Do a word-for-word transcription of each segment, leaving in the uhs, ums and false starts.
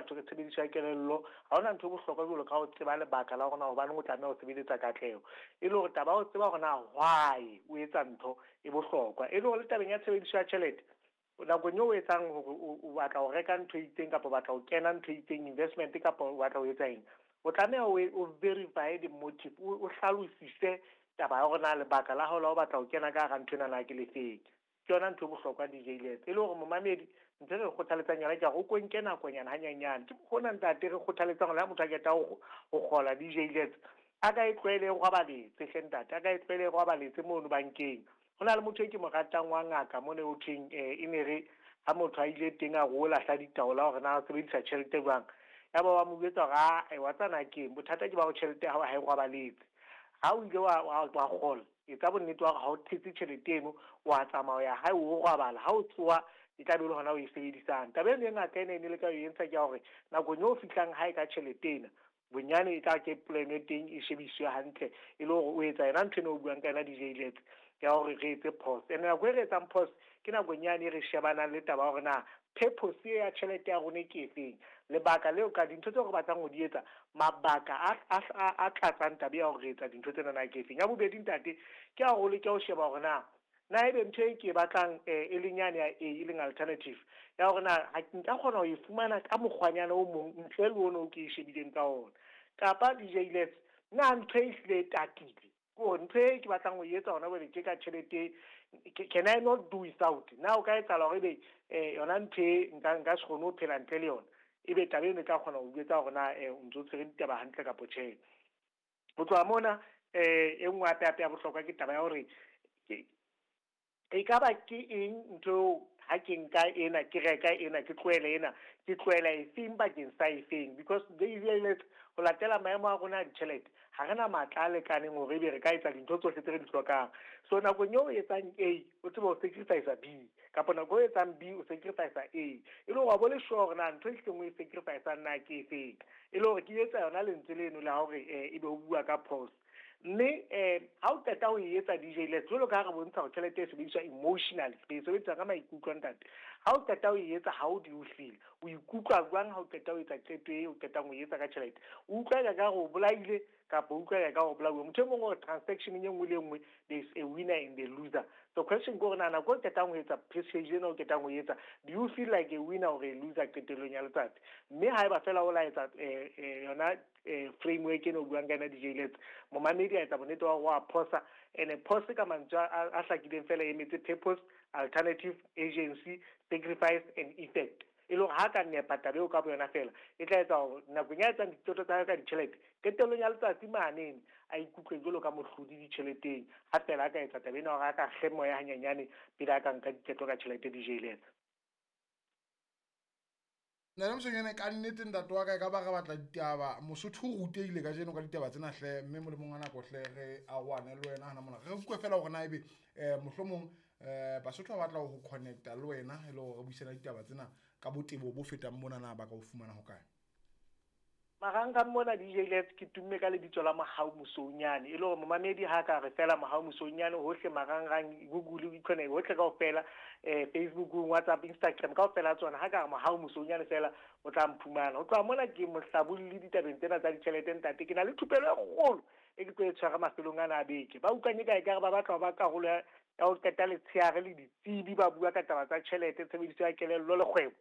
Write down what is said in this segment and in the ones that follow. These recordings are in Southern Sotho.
batho ke tshebediso ya kelello ha hona ntho e bohlokwa jwalo ka ho tseba lebaka la hore na hobaneng o tlameha ho sebeletsa katleho. E le hore taba ya ho tseba hore na why o etsa ntho e bohlokwa. E le hore le tabeng ya tshebediso ya tjhelete, nakong eo o etsang hore o batla ho reka ntho e itseng kapa o batla ho kena ntho e itseng investment kapa o batla ho etsa eng, o tlameha o verify the motive, o hlalosise taba ya hore na lebaka la hao la ho batla ho kena ka hara ntho ena na ke le feng. Ke yona ntho e bohlokwa D J Lets. E le hore momamedi ntho e re kgothaletsang yona ke hore o ko nke nakonyana hanyenyane. Ke hona ntate re kgothaletsang hore ha motho a qeta ho kgola D J Lets, a ka e tlwaele e robaletse hle ntate, a ka e tlwaele e robaletse mono bankeng. Ho na le motho e ke mo ratang wa ngaka mona ho thweng e ne re ha motho a ile teng a re o lahla ditaola hore na o sebedisa tjhelete jwang, ya ba wa mo jwetsa hore a wa tsana keng bothata ke ba ho tjhelete ha ha e robaletse. Ha o ile wa wa kgola, etsa bonnete wa hore ha o thetse tjhelete eno, wa tsamaya hae o robala, ha o tsoha e tla be le hona o e sebedisang. Taba eno e ngaka ena e ne le ka e entsha ke ya hore nakong eo o fihlang hae ka tjhelete ena, bonyane e tla ke plan e teng e shebiswe hantle, e le hore o etsa yona ntho ena o buang ka yona D J Lets ya hore re etse pause. Ene nako e re etsang pause ke nakong yane e re shebanang le taba ya hore na purpose ya tjhelete ya rona ke efeng, lebaka leo ka dintho tseo re batlang ho di etsa, mabaka a a tlatsang taba ya hore re etsa dintho tsena na ke efeng. Ya bobedi ntate ke ha hore ke ho sheba hore na na ebe ntho e ke e batlang e leng yane ya A e leng alternative ya hore na ha nka kgona ho e fumana ka mokgwanyana o mong ntle le ono o ke e shebileng ka ona, kapa D J Lets na ntho e hlile e tatile ke hore ntho e ke batlang ho e etsa hona jwale ke ka tjhelete, can I not do without? Na o ka etsahala hore ebe yona ntho e nka nka se kgone ho phela ntle le yona, ebe taba eno e tla kgona ho jwetsa hore na o ntso tshwere ditaba hantle kapa tjhe. Ho tloha mona e nngwe hape hape ya bohlokwa ke taba ya hore e ka ba ke eng ntho ha ke nka ena ke reka ena ke tlohele ena ke tlohela efeng bakeng sa efeng, because they realize ho latela maemo a rona a ditjhelete ha re na matla a lekaneng hore ebe re ka etsa dintho tsohle tse re di hlokang. So nakong eo o etsang A o tsebe ho sacrifice B, kapa nako eo o etsang B o sacrifice A, e le hore wa bo le sure hore na ntho e hleng o e sacrifice-ang na ke efeng, e le hore ke etsa yona lentswe leno la hore ebe o bua ka pause. Mme ha o qeta ho e etsa D J Lets, jwalo ka ha re bontsha hore tjhelete e sebediswa emotionally, re e sebedisa ka maikutlo ntate. Ha o qeta ho e etsa, ha o di o hlile, o ikutlwa jwang ha o qeta ho etsa qeto e o qetang ho e etsa ka tjhelete? O utlwa eka ka hore o bolaile kapa o utlwa eka ka hore o bolauwe? Motho e mong o re transaction e nngwe le e nngwe there is a winner and a loser. So question ke hore na nako o qetang ho etsa purchase ena o qetang ho e etsa, do you feel like a winner or a loser qetellong ya letsatsi? Mme haeba feela o la etsa yona framework eno o buang ka yona D J Lets, momamedi a etsa bonnete wa hore wa phosa, and pause ka mantswe a hlakileng fela e emetse purpose, alternative, agency, sacrifice and effect. E le hore ha ka nepa taba eo ka boyona fela, e tla etsa hore nakong ya etsang diqeto tsa hae ka ditjhelete, qetellong ya letsatsi manene a ikutlwe jwalo ka mohlodi ditjheleteng, ha fela a ka etsa taba ena hore a ka kge moya hanyenyane pele a ka nka diqeto ka tjhelete D J Lets. Nna Mosweunyane ka nnete ntate wa ka e ka ba re batla ditaba, Mosotho o rutehile kajeno ka ditaba tsena hle, mme molemong wa nako hle re arohane le wena hana mona. Re utlwe fela hore na ebe mohlomong Basotho ba batla ho connecta le wena e le hore re buisana ditaba tsena ka botebo bo fetang mona, na ba ka o fumana hokae? Marangrang mona D J Lets ke tumme ka lebitso la Mohau Mosweunyane, e le hore momamedi ha ka re fela Mohau Mosweunyane hohle marangrang, Google ikhona hohle kaofela, eh Facebook, WhatsApp, Instagram kaofela tsona, ha ka re Mohau Mosweunyane fela o tla mphumana. Ho tloha mona ke mohlabolli ditabeng tsena tsa ditjhelete ntate, ke na le thupelo e kgolo e ke tlo e tshwara mafelong ana a beke. Ba utlwang e ka ekare ba batla ho ba karolo ya ho qeta letsheare le ditsebi ba bua ka taba tsa tjhelete, tshebediso ya kelello le kgwebo,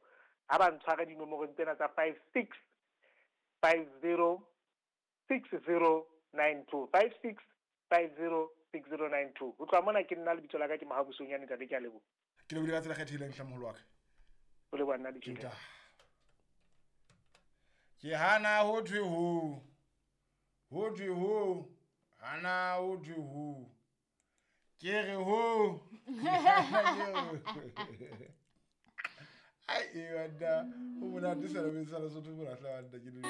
ha ba ntshware dinomorong tsena tsa five six five zero six zero nine two, five six five zero six zero nine two. Ho tloha mona ke nna lebitso la ka ke Mohau Mosweunyane ntate, ke a leboha. Ke lebohile ka tsela e kgethehileng hle moholo wa ka. O leboha nna D J. Ke hana ho thwe ho, ho thwe ho, hana ho thwe ho, ke re ho. Ai, e banna, o monate sena, o sa Lesotho mona hle banna, ke le